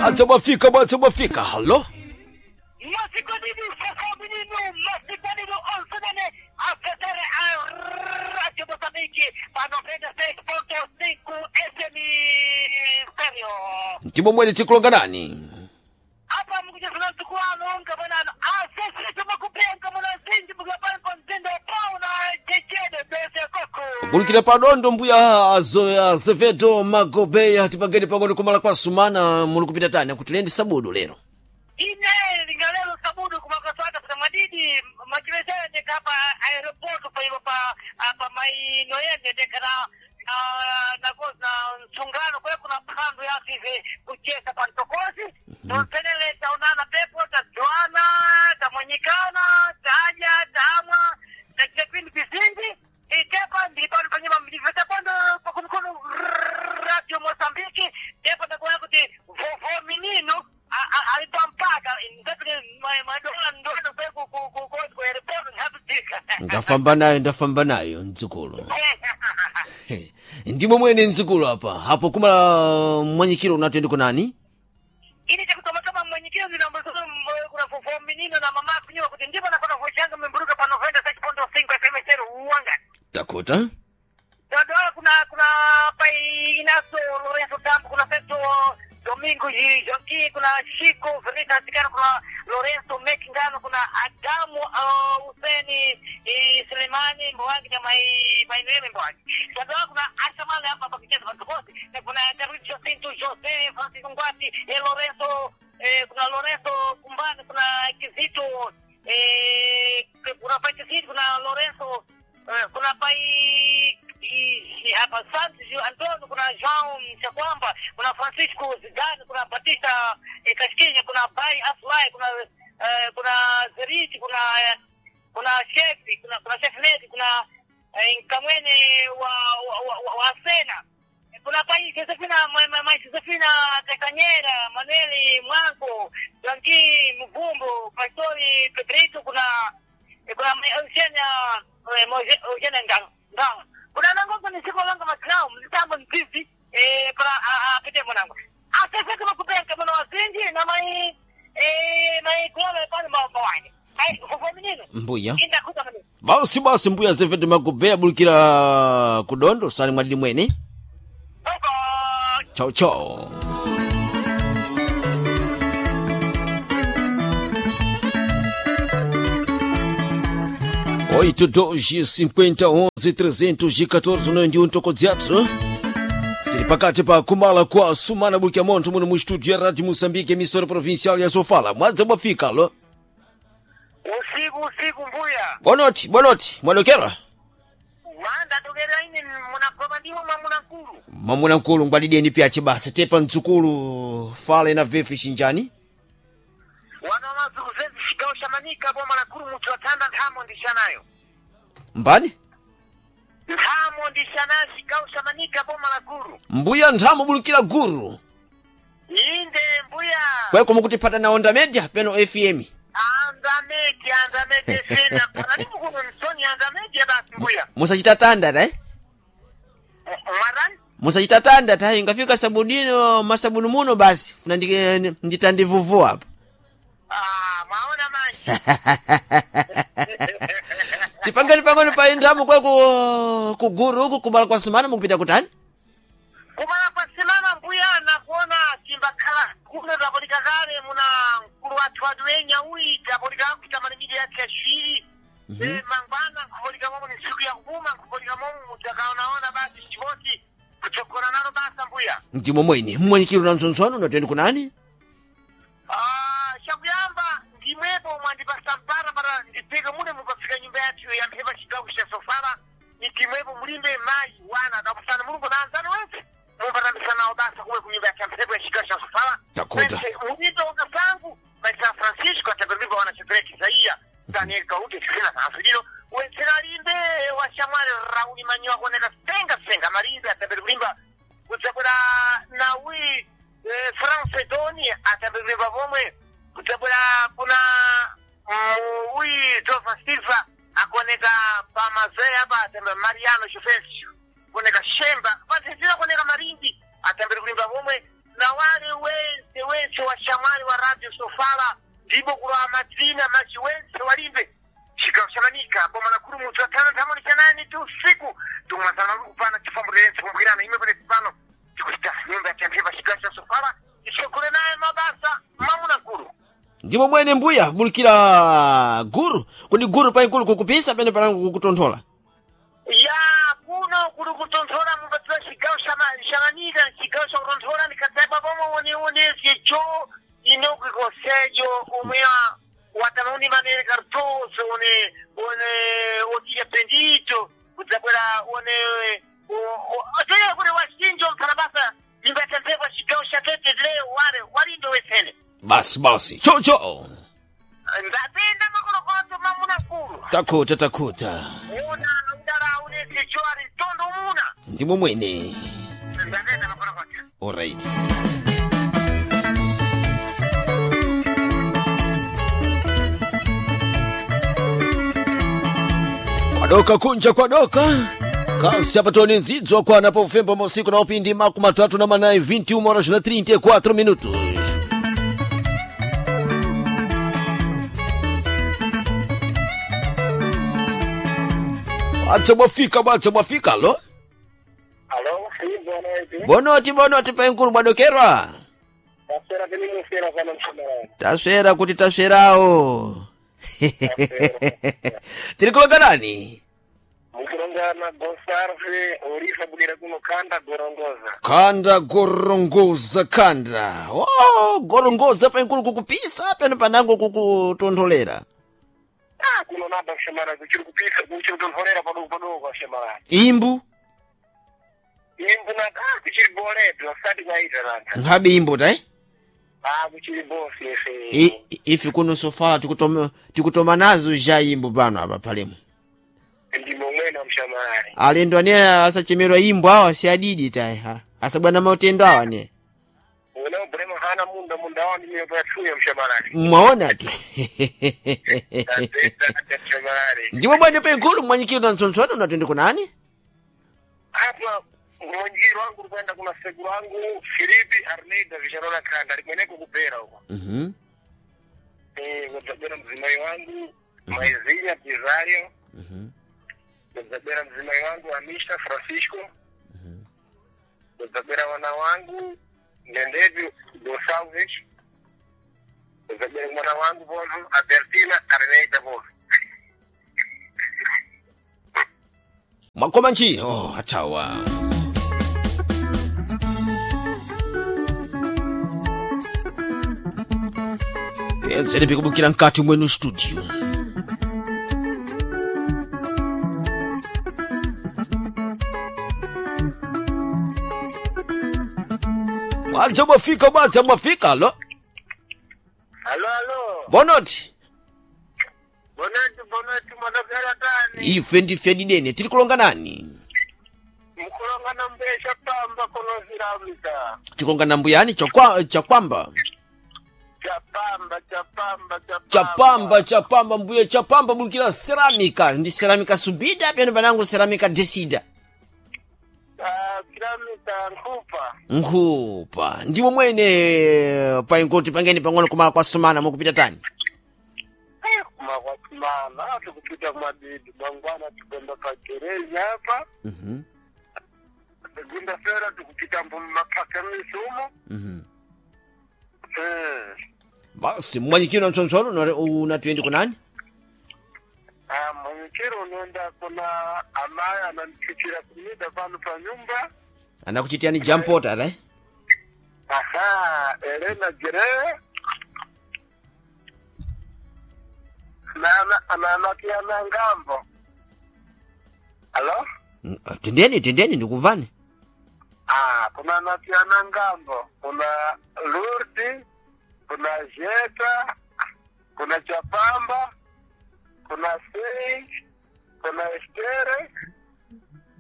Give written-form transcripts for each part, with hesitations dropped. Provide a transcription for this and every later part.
Atsabafika batsabafika halo. Masikodinu, onsenene, afetere a Radio Mozambique, pa 96.5 FM Stereo. Ndipo mwene tikulonganani. Apa mukujafuna mtukuwano nkabonano asese makupenga muna zinji mukapampa mtindo pauna chechede bese koko. Kulikira padondo mbuya Azevedo Magobeya tipangeni pang'ono kumala kwa sumana muli kupita tani kuti lendi sabudu lero. Ine lingalelo sabudu kumakaswata kuta madidi machilesere ndekapa aeroporto paivo pa apa mainoyende ndekana na msungano kwe kuna phandu yasive kuchesa pa ntokosi tonsenele taonana pepo tajuana tamwanyikana taja tamwa tachita pindi pizinji itepa ndilipano panyuma mlivetapondo pakumkono Radio Mozambique tepa ndakuona kuti vovo minino alipampaka ndapite madola ndodo kwe ku airport nhapitika Ndafamba nayo ndafamba nayo mdzukulu. Ndimo mwene mdzukulu apa hapo kumala mwanyikiro unatende kunani? Ini chakutomatoma mwenyekero ndinambozono kuna vovo minino na mama kunyiwa kuti ndipo nakona vochanga memburuka pa 96.5 FM zero uwanga Takota. Dodola kuna pai Inacio Lorenzo Tambo, kuna Feto Domingo Joaquim, kuna Chico Veneta Zicano, kuna Lorenzo Mekingano, kuna Adamu Huseni Selemani Mbowangi na mai Maineme Mbowangi. Dodola kuna Ashamale hapa pa kicheza patukosi, na kuna David Jacinto Jose Francisco Ngwati, Lorenzo kuna Lorenzo Kumbani, kuna Kizito kuna pai Kizito, kuna Lorenzo kuna pai hapa Santos Antonio, kuna João Chakwamba, kuna Francisco Zidane, kuna Batista Casquinha, kuna Bai Afly, kuna kuna Zeriti, kuna chef, kuna chef Nedi, kuna Nkamwene wa Asena, kuna pai Josefina ma Josefina Castanheira, Manuel Mwango, Joaquim Mvumbo, Pastori Pedrito, kuna Eugenia Eugenia Nganga. Kuna nango ni siku langa matrao mtambo mpizi para apite mwanangu. Asese kama kupenga mwana wazinji na mai mai kulola pale mawani. Ai kwa minino. Mbuya. Inda kuta manino. Basi basi mbuya Azevedo Magobeya bulikira kudondo sali mwadili mwene. Bye bye. Chao chao. Oito, dois, cinquenta, onze, trezentos e quatorze, não um tokodziatso. Tiri pakati pa kumala kwa sumana bulikia monto muno mu estúdio ya Rádio Moçambique, emissora provincial ya Sofala. Mwadza mwafika lo. Usiku usiku mbuya. Boa noite, boa noite. Mwadokera? Wanda tokera ine munakoma ndiwo mwamuna nkulu. Mwamuna nkulu ngwadideni pyache basa tepa mdzukulu fale na vefi xinjani. Wana mazuku zezi chigawo cha Manika boma la kulu muthu atanda nthamo ndishanayo. Mbani? Nthamo ndishanayo chigawo cha Manika boma la kulu. Mbuya nthamo bulikira guru. Inde mbuya. Kweko mukutipata na Onda Media peno FM. Anda media, anda media sena. Pana ndipo kuno msoni anda media basi mbuya. Musachita tanda ta eh? Mwarani? Musachita tanda ta ingafika sabudino masabuni muno basi. Funa nditandivuvua apa. Ah, mwaona manje. Tipangeni pangoni pa nthamo kweko kuguru huku kumala kwa sumana mukupita kutani? Kumala kwa simama mbuya na kuona chimbakhala kuno tapolika kale muna mkulu wathu watu wenya uyi tapolika kuita malimidi yake ashiri. Mangwana nkupolika momo ni siku ya kupuma nkupolika momo mutakaonaona basi chiboti kuchokora nalo basa mbuya. Ndimo mwene mmwenyekero na msonsono unatenda kunani? Ah, chakuyamba ndimwepo mwandipasa mpara para ndipeke mune mukafika nyumba yathu ya mphepa chigawo cha sofala ndimwepo mulimbe mayi wana kapusana mulungu na anzanu wense mumbatambisanawo basa kuwe kunyumba yathu ya mphepo ya chigawo cha sofala Takuta. mulimbe wakasangu mai San Francisco atapelipa wana Shetreki Isaia Daniel Kaute Sina Sanfilino wensera limbe washamwale Rauli Manyoa kuoneka senga senga malimbe atapeli kulimba kutsabwera nawi France Doni atapelipa pomwe kutsabwera kuna uyi Jova Silva akuoneka pamazoe apa atamba Mariano Jofensio kuoneka Shemba pazizira kuoneka Marimbi atambere kulimba pomwe Na wale wense wense washamwali wa Radio Sofala ndipo kulwa matsina machi wense walimbe chigawo cha Manika boma la Kurumutu atana ntamoni chanani tu usiku tumwazana kupana chifambulense kumbukirana imwe pale pano tikuita nyumba ya tempeva chigawo cha Sofala ichokole naye mabasa mamuna nkulu. Ndimo mwene mbuya bulikira guru kodi guru paikulu kukupisa pene panango kukutonthola. Ya kuno kuli kutonthola mupatiwa chigawo cha Manika chigawo cha kutonthola nikadzaba pomwe one sicho inoki conselho omwe watamauni manene Cardoso one one otija Bendito kudzabwera one otera kuti wachinjo mphalabasa nyumba yatemphekwa chigawo cha tete leo wale walindo wetsene Basi basi chocho ndapinda makolokoto mamuna kulu takhuta takhuta. una udala une sicho ali mtondo umuna Ndimo mwene. ndapinda makolokoto. Alright. Kwadoka kunja kwadoka kasi apatoni nzidzwa kwana pa ufemba mausiku na upindi makumi matatu na manayi 21 horas na 34 minutos. Bwadza bwafika bwadza bwafika lo. Alo, sí, bonoti. Bonoti bonoti paenkulu bwadokerwa. Taswera tini musera pano mshamara. Taswera kuti taswerawo. Tiri kulonga nani? Mukulongana Gonsalve Oliva budira kuno kanda gorongoza. Kanda gorongoza kanda. Oh, gorongoza paenkulu kukupisa pano panango kukutontholera. Ah, kuno naba mshamara kuchiri kupisa kuchiri kutonholera padogo padogo mshamara. Imbu Imbu na ah kuchiri boletu asati kwaita nanta. nkhabe imbu tai? Ah, kuchiri bosi efe. Ife kuno sofala tikutoma tikutoma nazo ja imbu pano apa palemu. Ndimo mwena mshamara. Alendo ane asachemerwa imbu awa si adidi tai ha. Asabwana mautendo awa ne. Una brema hana munda munda wani mimi kwa mshamara. Mwaona tu. Tateta mshamara. Ndimo bwana penkulu mwanyikiro na mtsontswano unatende kunani? Hapa mwanjiro wangu kwenda kuna sekuru wangu Filipi Arneida Vicharona kanda alikweneko kupera huko. Mhm. Kudzabwera mdzimai wangu Maizinya Kizario, kudzabwera mdzimai wangu Amisha Francisco, kudzabwera wana wangu Ndendevi Gonsalves, kudzabwera mwana wangu Vovo Albertina Arneida Vovo. Mwakoma nchi oh, atawa penzere pikubukira mkati mwenu studio mwadza mwafika mwadza mwafika lo. Alo, alo, Bonoti bonati bonati mwadabwera tani ife ndife didene tiri kulonga nani? mkulonga na mbesha pamba kunoziramika Tikulonga na mbuyani chakwamba chapamba chapamba chapamba chapamba mbuye chapamba bulikira ceramika ndi ceramika subida pano panango ceramika desida. Ah, ceramika nkhupa. Nkhupa ndiwo mwene paingoti pangeni pang'ono kumala kwa sumana mukupita tani. Kumakwatsimana tikupita kumadidi mangwana tikwenda pagerezi apa segunda fera tikupita mumapaka misumo. Basi mwanyikiro mtsontsolo unatuendi kunani? Ah, mwanyikiro unoenda kuna amaya ananichuchira kumida pano pa nyumba. Anakuchitiani jampota ata Aha, Elena Jere nana ngambo. Alo? Tendeni tendeni ndikuvani. Ah, kuna natiana ngambo, kuna Lurdi, kuna Jeta, kuna Chapamba, kuna Sei, kuna Estere,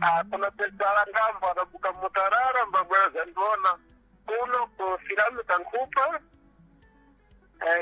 ah, kuna Pesala ngambo anabuka mutarara mbabwera zandiona kuno ku filamu kankupa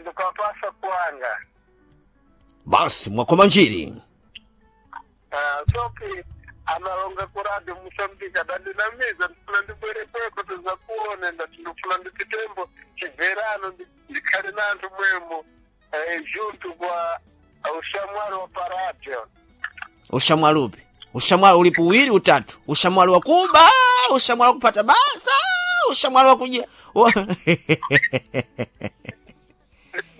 ndikapasa kuanga. Basi mwakoma njiri. Ah, soki Analonga kuradi Mosambika dandinamiza ndifuna ndibwere kweko tizakuone ndati ndifuna ndipitembo chibverano ndikhale na anthu mwemo junto kwa ushamwali wa paradio. Ushamwali upi? Ushamwali ulipo uwili utatu. Ushamwali wa kuba, ushamwali wa kupata basa, ushamwali wa kuja.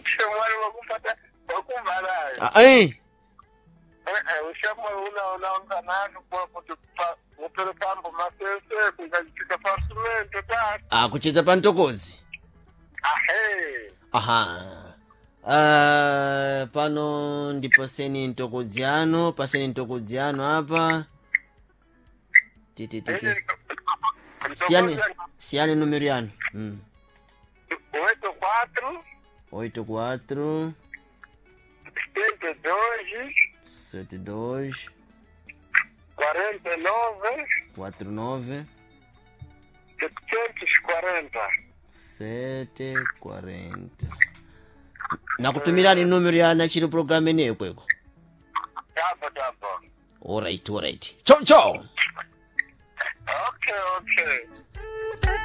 Ushamwali wakupata wakumbalayo. Ah, eh. Ushamwali unaonga nanu kwa kuti muperekambo masese kungachitika pasimento ta. Ah, kucheza pa mtokozi. Ahe. Aha. Pano ndipaseni mtokodziano, paseni mtokodziano apa. Ti ti ti ti. Siyani, siyani numero yanu. 84 84 72 72 49 49 740. 740. Nakutumirani numero ya nachiro program ineyo kweko. Tabo tabo. Alright, alright. Chau chau. Okay, okay.